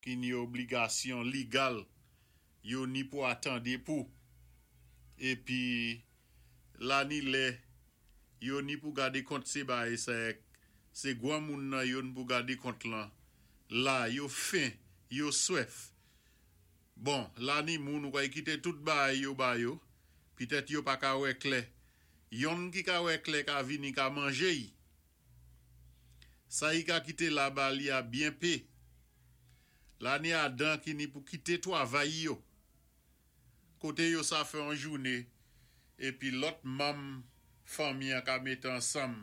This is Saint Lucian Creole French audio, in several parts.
Ki ni obligasyon ligal yo ni pou atande pou. Épi la ni lè yo ni pou gade kont sé baay sa èk sé gwanmoun nan yo n pou gade kont lan la yo fen yo swèf bon la ni moun ou kay kité tout baay yo ba yo pitèt yo pa ka wè klè yonn ki ka wè klè ka vini ka manje y. Sa i ka kite la ba li a byen pe. La ni Adan ki ni pou kite twavay yo. Kote yo sa fè on joune epi lòt manm fanmi an ka mete ansanm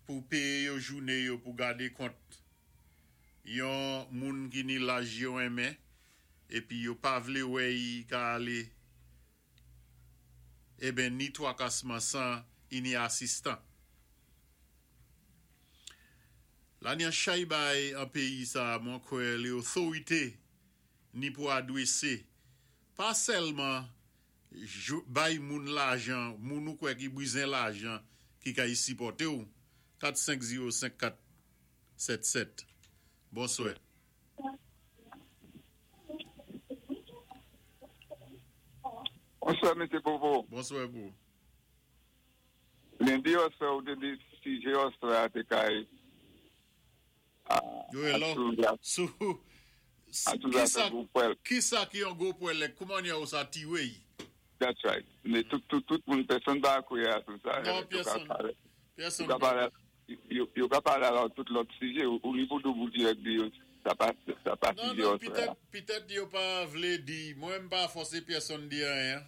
pou peye yo joune yo pou gade kont yon moun ki ni laj yo renmen epi yo pa vle wè i ka ale Eben ni twakasman 100 i ni asistan. La ni an chay bay an péyi sa mwen kwè lé othorité ni pou adwésé pa sèlman bay moun lajan moun ou kwè ki bizen lajan ki kay sipòté w 4 5 0 5 4 7 7 Bonswè. Bonswa mesye Popo. Bonswa pou ou. Lendi oswè ou te di sijè oswè a te kay sou kisa ki yon gwo pwèl e kouman ou sa tiwe y. That's right. Men tout tout moun pèsonn pa kwè a sou sa. Non pèsonn. Pèsonn pa kwè. Yo ka pale about tout lòt sijè ou li pou tou pou dirèk di yo sa pa sa pa sijè oswè a. Non non pitèt yo pa vle di mwen m pa fòse pyèsonn di anyen.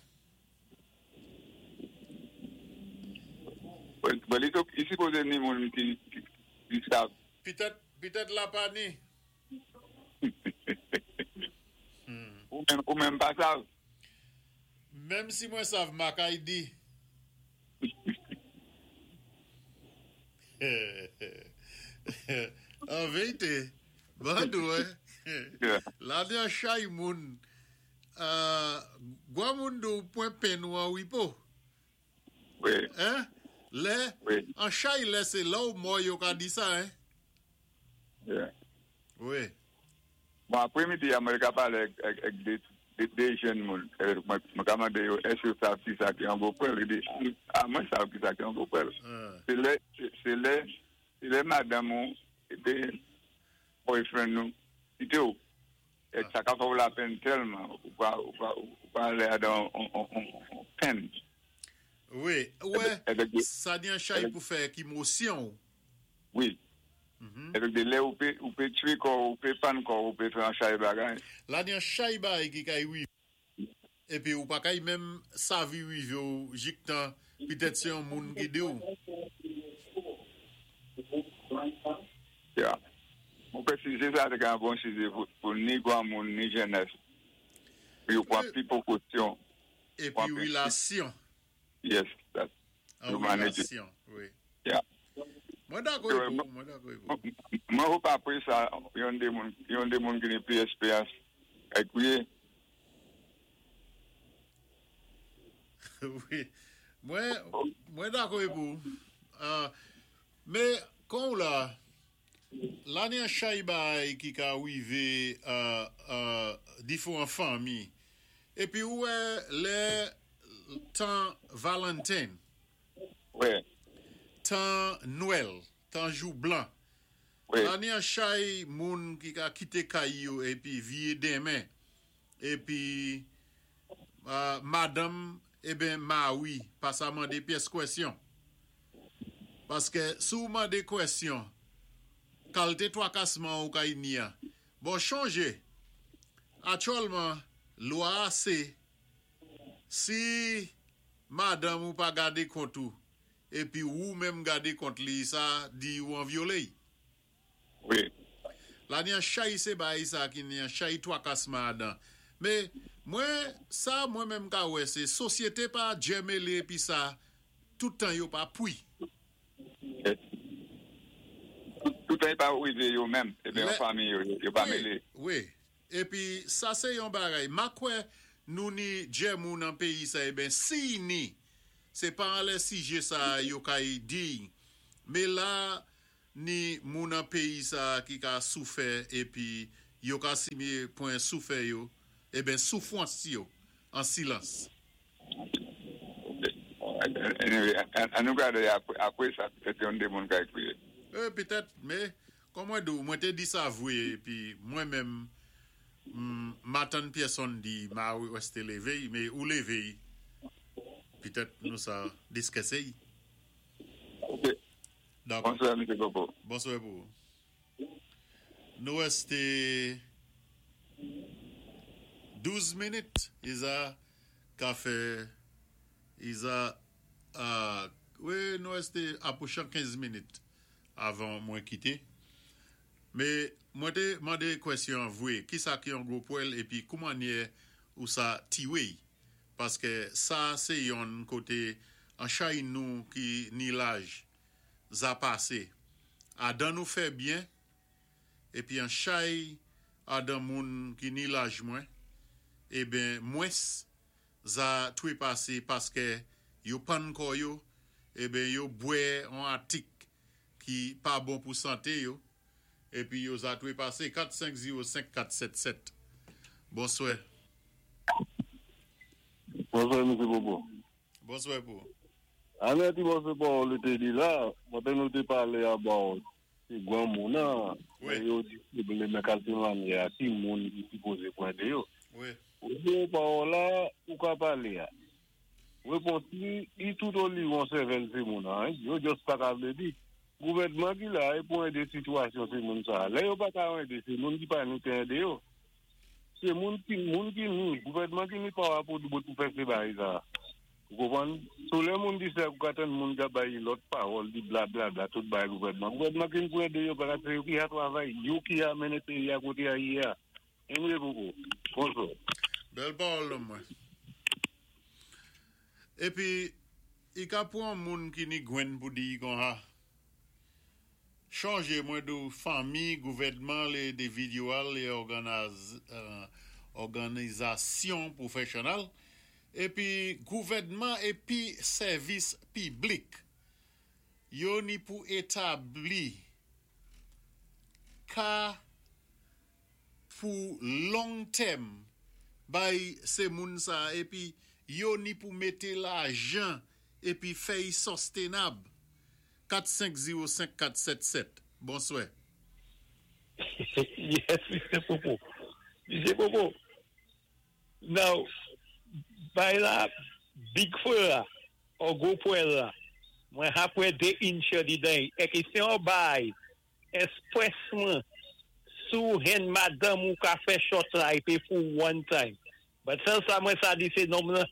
Bon li li sipoze ni moun ki ki sav. Pitèt pitèt la pa ni. Ou menm ou menm pa sav. Menm si mwen sav ma kay di. An vérité, Bandou, la ni an chay moun, gwa moun di w pwen pen ou an wipo. Hein? Lè, an chay lè sé lè w mò yo ka di sa, hein? Wi. Bon apremidi a mwen ka pale ak 2 jèn moun mwen ka mande yo èske yo sav kisa ki yon gwo pwèl yo di a mwen sav kisa ki yon gwo pwèl se lè se lè se lè madanm ou oubyen boyfriend ou kite w e sa ka fè w lapenn tèlman ou pa ou pa ou pa ale adan yon penn. Wi ou wè sa gen chay pou fè ak emosyon w. Wi. Ebyen de lè ou pe ou pe tue kò ou pe pann kò ou pe fè an chay bagay. La gen an chay bagay ki kay rive epi ou pa kay menm savi rive w jiktan pitèt se yon moun ki di w. Ya. Mwen kwè sijè sa te ka yon bon sijè pou ni granmoun ni jenès pou yo pran pi pwokosyon. Epi relasyon. Yes, that's An relasyon, wi. Yeah. Mwen dakò ek ou, mwen dakò ek ou. Mwen hope apre sa, yon de moun, yon de moun ki ni pli esperyans kay kouye. Wi. Mwen, mwen dakò ek ou. Men, kon ou la, la ni an chay bagay ki ka rive difouran fanmi. Epi ou wè lè tan Valentine, tan Nwèl, tan jou blan, la ni an chay moun ki ka kite kay yo epi viye denmen, epi madanm eben mari pa sa mande pyès kwèsyon. Paske si w mande kwèsyon, kalte twakasman ou kay ni a. Bon chonje, atyòlman lwa a se si madanm ou pa gade kont ou epi wou menm gade kont li sa di ou an vyole y. Wi. La ni an chay se bay sa ki ni an chay twakasman adan. Me mwen sa mwen menm ka wè se sosyete pa djèmele epi sa tout tan yo pa pwi. Tout tan yo pa rive yo menm epi an fanmi yo yo pa mele. Wi epi sa se yon bagay ma kwè nou ni djèmou nan peyi sa eben siy ni se pa anlè sije sa yo kay diy me la ni moun nan peyi sa ki ka soufè epi. Yo ka simé pwen soufè yo, eben soufwans yo an silans. Anyway, an nou gadé apwé sa, petèt yon dé moun ka ékri. Wi, petèt, mé kòm mwen di w, mwen té di sa vwé, épi mwen menm m atann pyèsonn di ma wèsté lévé, mé ou lévé, petèt nou sa diskisé. Ok. Dakò. Bonswè, Misye Popo. Bonswè pou ou. Nou wèsté 12 minit, i za ka fè, i za, wi, nou wèsté apwochan 15 minit avan mwen kité. Mé mwen té mandé kwèsyon an vwé, kisa ki yon gwo pwèl épi koumannyè ou sa tiwé-y? Paskè sa sé yonn koté an chay nou ki ni laj za pasé adan nou fè byen épi an chay adan moun ki ni laj mwen eben mwens za twépasé paskè yo pann kò yo eben yo bwè on atik ki pa bon pou santé yo épi yo za twépasé 4 5 0 5 4 7 7 Bonswè. Bonswè Misye Popo. Bonswè pou ou. Anè ti mòso pawòl ou te di la, kote nou te pale about se granmoun an, men yo di se men kalte mannyè a ki moun ki sipoze pran de yo. Ou di yon pawòl la, ou ka pale a. Repons li, li tout oliwon sèvèl timoun an, yo just pa ka vle di. Gouvènman ki la e pou ede sitiyasyon timoun sa a. Lè yo pa ka ede, se moun ki pa ni te ede yo. Se moun ki moun ki ni, gouvènman ki ni pawa pou bout pou fè se bagay sa a. Ou konprann? So lè moun di sa, ou ka tann moun ka bay lòt pawòl, di blablabla tout bagay gouvènman. Gouvènman ki ni pou ede yo paske se yo ki a travay, yo ki a mennen peyi a kote a ye a. Anyway Popo, bonswa. Bèl pawòl nonm mwen. Epi i ka pwan moun ki ni gwenn pou di i konha. Chonjé mwen di w fanmi, gouvèdman, lé endividyèl, lé òganizasyon pwofèsyonèl, épi gouvèdman épi sèvis piblik yo ni pou établi ka pou long tèm bay sé moun sa épi yo ni pou mété lajan épi fè y sostenab 4 5 0 5 4 7 7 Bonswè. Yes, Misye Popo. Misye Popo, now, bay la, big fwe la, or gwo pwèl la, mwen hapwè 2 inch di dan, ek se yon bay, espresman, sou hen madanm ou ka fè shot la, epi for one time. But sèl sa mwen sa di se nonm lan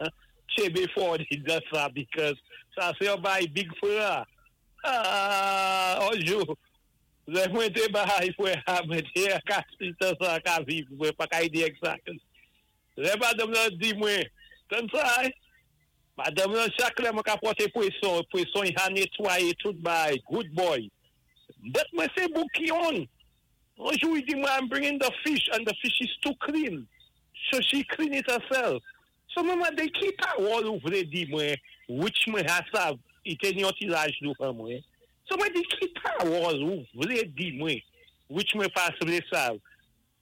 chebe for di dan sa, because sa se yon bay big fwe la. Ah, onjou, lè mwen te bay fwe a, mwen te ka tan sa ka viv, mwen pa ka ide exactly. Lè madanm nan di mwen, tan sa, eh? Madanm nan chak lè mwen ka pote pweson, pweson yi ha netwaye tout bay, good boy. But mwen se boukion. Onjou, yi di mwen, I'm bringing the fish, and the fish is too clean. So she clean it herself. So mwen mande ki pawòl ou vle di mwen, which mwen ha sav, i te ni yon ti laj nou an mwen. So mwen di ki pawòl ou vle di mwen, which mwen pa vle sav.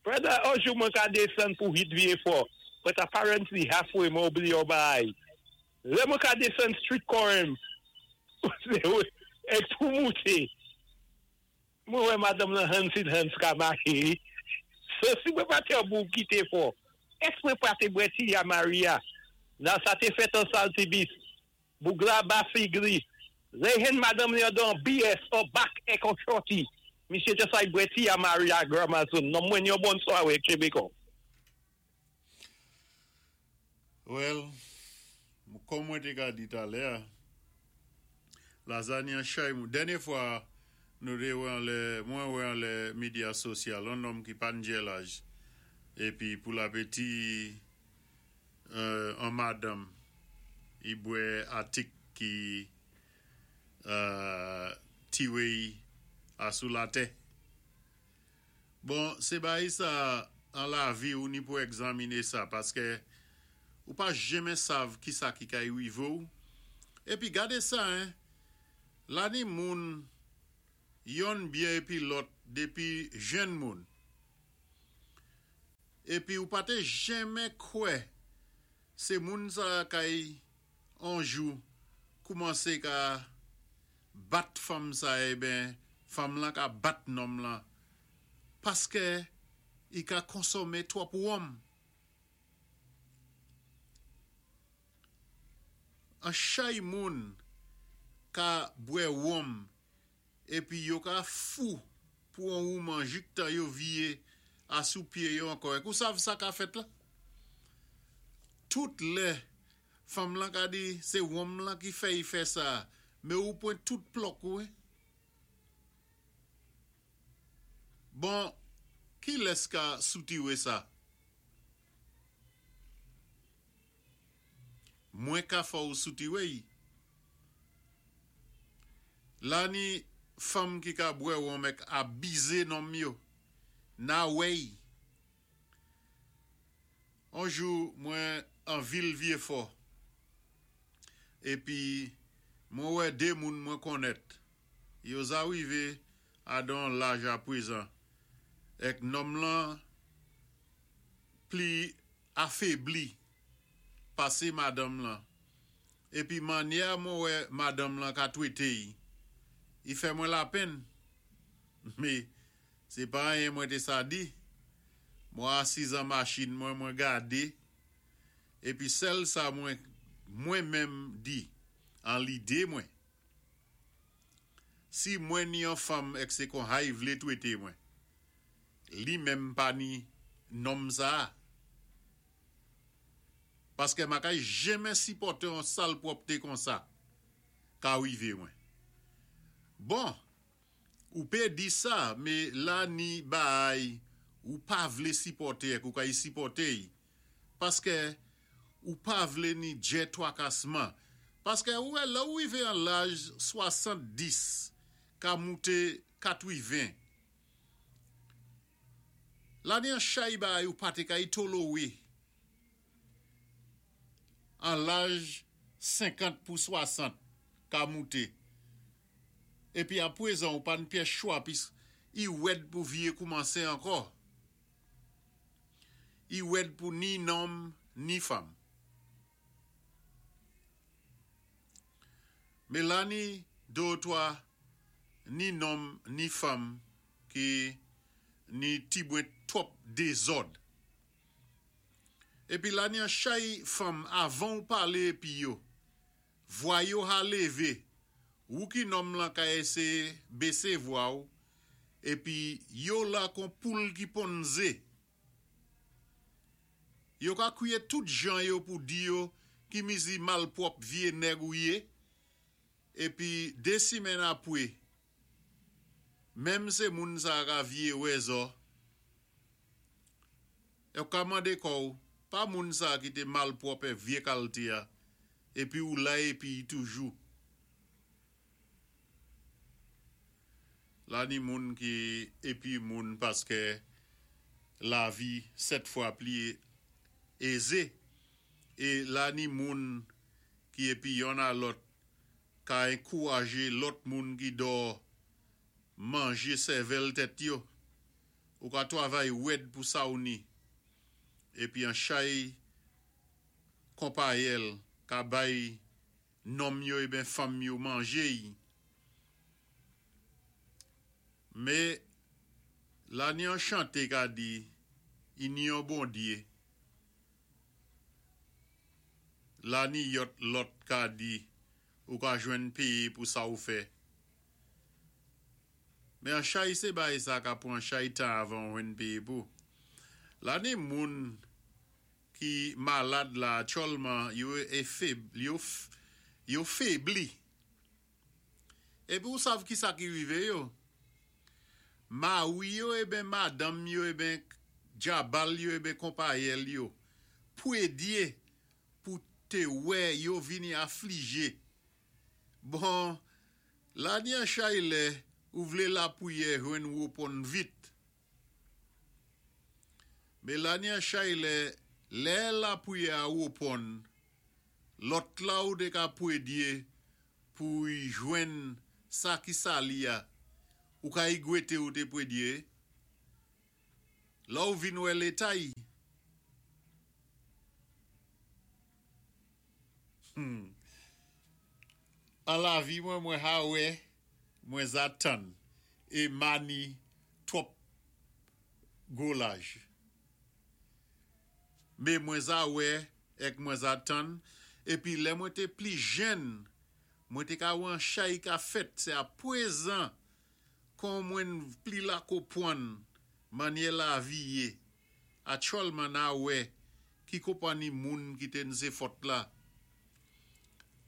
Brother, onjou mwen ka desann pou hit vie fò, but apparently halfway mwen oubli yon bay. Lè mwen ka desann street corner, ek pou moute. Mwen wè madanm nan hands in hands ka mache. So si mwen pa te bou kite fò, es mwen pa te bwè ti ya Maria? Nan sa te fèt an Saltibus. Bougla ba figli. Lè hen madanm li an don BS or back ek an shorty. Misye just like bwè ti ya Maria Gramazon. Non mwen yon bon swawe Chebeko. Well, kòm mwen te ka di talè, lazani an chay mou. Dènyé fwa, nou te wè an lè, mwen wè an lè medya sosyal, an nonm ki pa njè laj, epi pou l'apeti an madanm, i bwè atik ki tiwe a sou latè. Bon, se bayi sa an lavi ou ni pou egzamine sa, paske ou pa jenmen sav ki sa ki kay rive ou. Epi gade sa, hein, la ni moun yon byen epi lòt depi jenn moun. Épi ou pa té jenmen kwè sé moun sa kay on jou koumansé ka bat fanm sa eben fanm lan ka bat nonm lan paskè i ka konsonmé twòp wonm. An chay moun ka bwè wonm épi yo ka fou pou on wouman jiktan yo viyé a sou pyé yo ankò èk ou sav sa ka fèt la? Tout lè fanm lan ka di sé wonm lan ki fè y fè sa mé ou pwan tout plòk ou wi. Bon kilès ka soutiwé sa? Mwen ka fè w soutiwe y. La ni fanm ki ka bwè wonm èk abize nonm yo. Na wè y. On jou mwen an vil Vyefò épi mwen wè 2 moun mwen konnèt. Yo za rivé a don laj apwézan èk nonm lan pli afebli pasé madanm lan épi mannyè mwen wè madanm lan ka twété y i fè mwen lapenn mé sé pa anyen mwen té sa di mwen asiz an machin mwen mwen gadé épi sèl sa mwen mwen menm di an lidé mwen si mwen ni yon fanm èk sé konha y vlé twété mwen li menm pa ni nonm sa a. Paskè ma kay jenmen sipòté on salpwòpté konsa ka wivé mwen. Bon, ou pé di sa, mé la ni baay ou pa vlé sipòté èk ou kay sipòté y, paskè ou pa vlé ni djè twakasman. Paskè ou wè lè ou wivé an laj 70 ka mouté katwiven, La ni an chay baay ou pa té kay tolowé an laj 50 pou 60 ka mouté épi apwézan ou pa n pyès chwa pis i wèd pou viyé koumansé ankò i wèd pou ni nonm ni fanm. Mélanie 2 ou 3 ni nonm ni fanm ki ni ti bwen twòp dézòd. Épi la ni an chay fanm avan ou palé épi yo, vwa yo ha lévé, wou ki nonm lan ka éséyé bésé vwa ou, épi yo la kon poul ki ponn zé. Yo ka kwiyé tout jan yo pou di yo ki mizi malpwòp vyé nèg ou yé, épi 2 simenn apwé Menm sé moun sa ka viyé wè zò. Èk ou ka mandé kò ou, pa moun sa ki té malpwòp èk vyé kalté a, épi ou la épi y toujou. La ni moun ki épi moun paskè lavi 7 fwa pli ézé é la ni moun ki épi yonn a lòt ka enkouraje lòt moun ki dò manje sèvèl tèt yo. Ou ka twavay wèd pou sa ou ni, épi an chay konpayèl ka bay nonm yo eben fanm yo manje y. Mé la ni an chanté ka di i ni yon Bondyé. La ni yòt lòt ka di ou ka jwenn péyé pou sa ou fè. Mé an chay sé baay sa ka pwan chay tan avan ou jwenn péyé pou. La ni moun ki malad la atyòlman yo yo fébli. Épi ou sav kisa ki rivé yo? Mari yo eben madanm yo eben djabal yo eben konpayèl yo pwédyé pou té wè yo vini aflijé. Bon, la ni an chay lè ou vlé lapwiyè jwenn woponn vit. Mé la ni an chay lè, lè lapwiyè a woponn, lòt la ou té ka pwédyé pou y jwenn sa ki sali a, ou ka y gwété ou té pwédyé. Lè ou vin wè léta y. An lavi mwen mwen ha wè mwen za tann é ma ni twòp gwo laj. Mé mwen za wè èk mwen za tann épi lè mwen té pli jenn mwen té ka wè an chay ka fèt sé a pwézan kon mwen pli la kopwann mannyè lavi yé Aktyèlman na wè ki konpani moun ki te n se fòt la.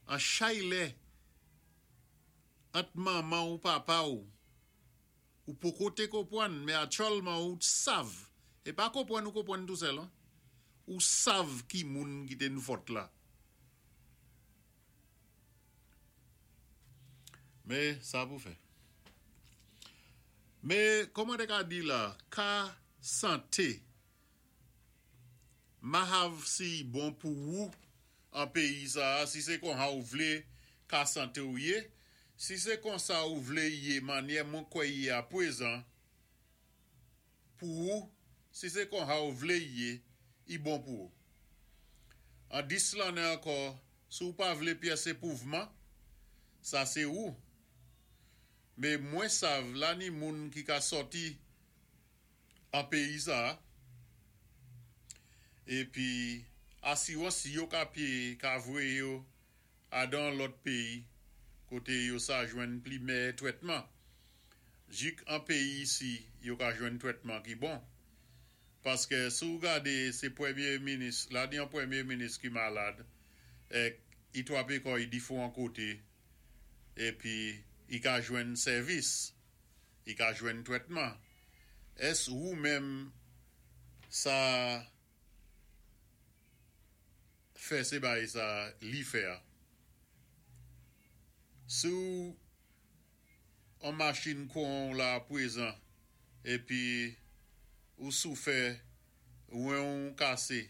An chay lè ant manman ou papa ou, ou poko te konpwann men aktyèlman ou sav, e pa konpwann ou konpwann tou sèl an, ou sav ki moun ki te n fòt la. Men sa pou fè. Men kòman te ka di la ka sante mahav si bon pou wou an peyi sa a si se konha ou vle ka sante ou ye si se konsa ou vle ye manyè mwen kwè ye a pwezan pou wou si se konha ou vle ye i bon pou wou an 10 lannen ankò si w pa vle pyès epouvman sa se wou me mwen sav la ni moun ki ka sòti an peyi sa a epi asirans yo ka pye ka voye yo adan lòt peyi kote yo sa jwenn pli mèyè twètman jik an peyi isi yo ka jwenn twètman ki bon paskè si w gade se premye minis la ni an premye minis ki malad èk i twape kò i difouran kote epi i ka jwenn sèvis i ka jwenn twètman ès wou menm sa fè se bay sa li fè a si w on machin kouran w la pwezan epi ou soufè wen w kase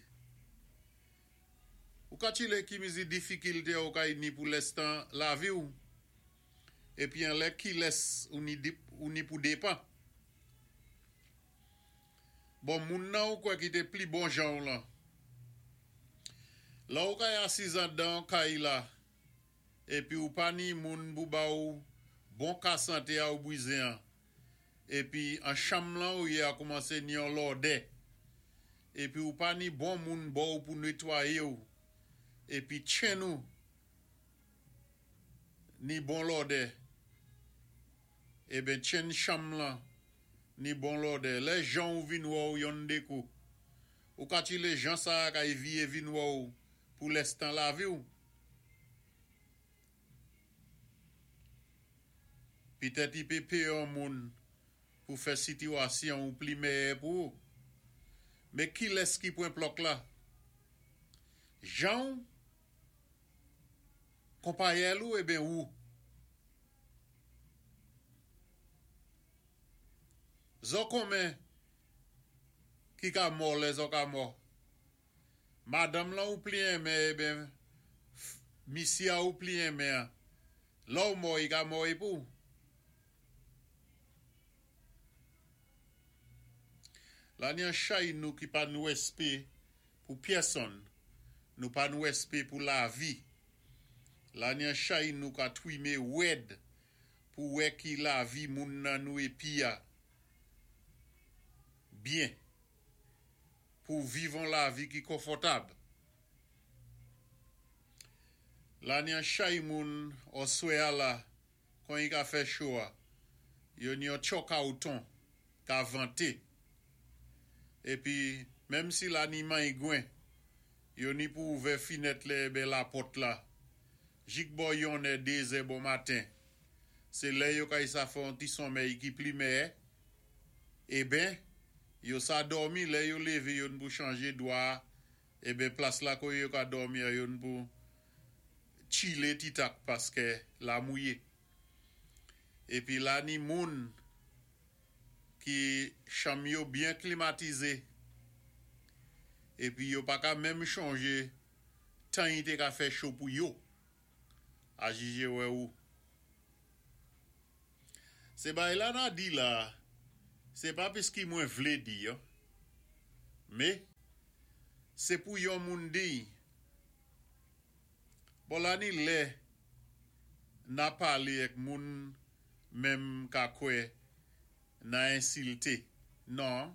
ou ka tchile ki mizi difikilte ou kay ni pou lèstan lavi w epi anlè kilès ou ni ou ni pou depan. Bon moun nan ou kwè ki té pli bon jan w lan. Lè ou kay asiz andan kay la epi ou pa ni moun pou ba ou bon ka santé a ou bwizen an epi an chanm lan ou yé a koumansé ni yon lòdè epi ou pa ni bon moun bò ou pou netwayé ou epi tchenn ou ni bon lòdè eben tchenn chanm lan ni bon lòdè lè jan ou vin wè ou yonn dekou ou ka tchile jan sa a kay viye vin wè ou pou lèstan lavi ou pitèt i pe peye yon moun pou fè sitiwasyon ou pli mèyè pou ou me kilès ki pwen plòk la jan ou Konpayèl ou eben ou. Zò konmen ki ka mò lè zò ka mò. Madanm lan ou pli enmen eben misye a ou pli enmen an. Lè w mò i ka mò e pou. La ni an chay nou ki pa nou èspe pou pyèsonn, nou pa nou èspe pou lavi. La ni an chay nou ka twime wèd pou wè ki lavi moun nan nou epi a byen pou viv on lavi ki konfòtab. La ni an chay moun òswè a la kon i ka fè cho a, yo ni yon tchòkawton ka vante. Epi, menm si la ni manyigwen, yo ni pou ouvè finèt lè eben lapòt la, jik bò yonnè dezè bon maten, se lè yo kay sa fè yon ti sonmèy ki pli mèyè, eben, yo sa dòmi, lè yo leve yo n pou chanje dwa eben plas la koye yo ka dòmi a yo n pou tchile ti tak paskè la mouye. Epi la ni moun ki chanm yo byen klimatize epi yo pa ka menm chonje tan i te ka fè cho pou yo a jije wè ou. Se bay la na di la se pa piski mwen vle di yo me se pou yon moun di. Bon, la ni lè na palé èk moun menm ka kwè na ensilté. Non,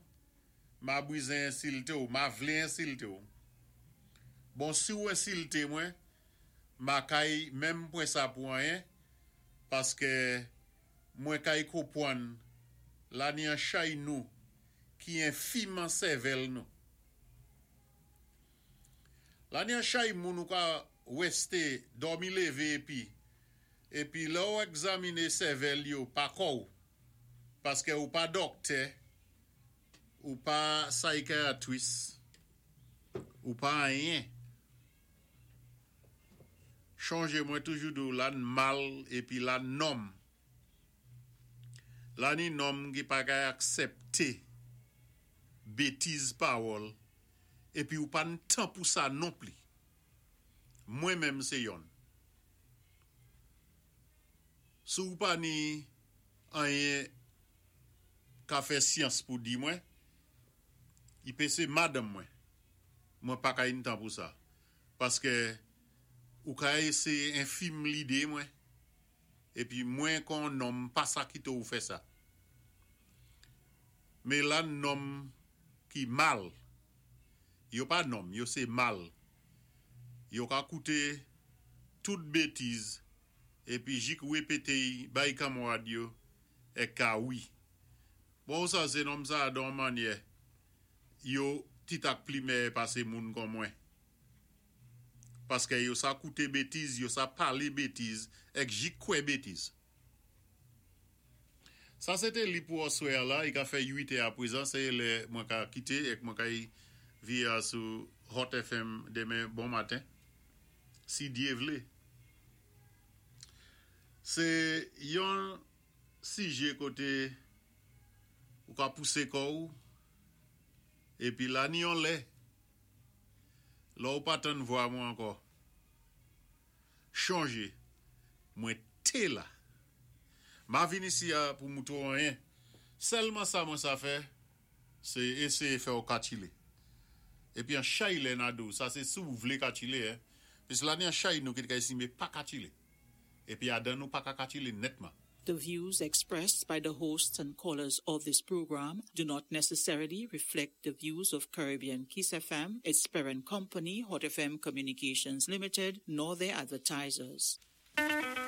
ma bwizen ensilté ou, ma vlé ensilté ou. Bon, si ou ensilté mwen, ma kay menm pwan sa pou anyen, paskè mwen kay konpwann la ni an chay nou ki enfim an sèvèl nou. La ni an chay moun ou ka wèsté dòmi lévé épi épi lè ou egzaminé sèvèl yo pa kò ou, paskè ou pa dòktè, ou pa psychiatrist, ou pa anyen. Chonjé mwen toujou di ou la n mal épi la nòm. La ni nòm ki pa kay aksepté bétiz pawòl épi ou pa n tan pou sa nonpli. Mwen menm sé yonn. Si ou pa ni anyen ka fè syans pou di mwen, i pé sé madanm mwen. Mwen pa kay n tan pou sa. Paskè ou ka éséyé enfim lidé mwen, épi mwen kon nonm pa sa kité ou fè sa. Mé la n nonm ki mal, yo pa nonm, yo sé mal. Yo ka kouté tout bétiz épi jik wépété-y bay kanmwad yo èk ka wi. Bon, sa sé nonm sa don mannyè yo ti tak pli mèyè pasé moun kon mwen. Paskè yo sa kouté bétiz, yo sa palé bétiz, èk jik kwè bétiz. Sa sé té li pou aswè la, i ka fè 8 è aprezan, sé lè mwen ka kité èk mwen kay via sou Hot FM démen bon maten. Si Dyé vlé. Sé yon sijé koté ou ka pousé kò ou épi la ni yon lè. Lè ou pa tann vwa mwen ankò. Chonjé, mwen té la. Ma vin isi a pou moutré ou anyen. Sèlman sa mwen sa fè, sé éséyé fè ou ka tchilé. Épi an chay lè na di ou, sa sé si ou vlé ka tchilé, hein. Pis la ni an chay nou ki té ka éstimé pa ka tchilé. Épi adan nou pa ka ka tchilé nètman. The views expressed by the hosts and callers of this program do not necessarily reflect the views of Caribbean Kiss FM, its parent company, Hot FM Communications Limited, nor their advertisers.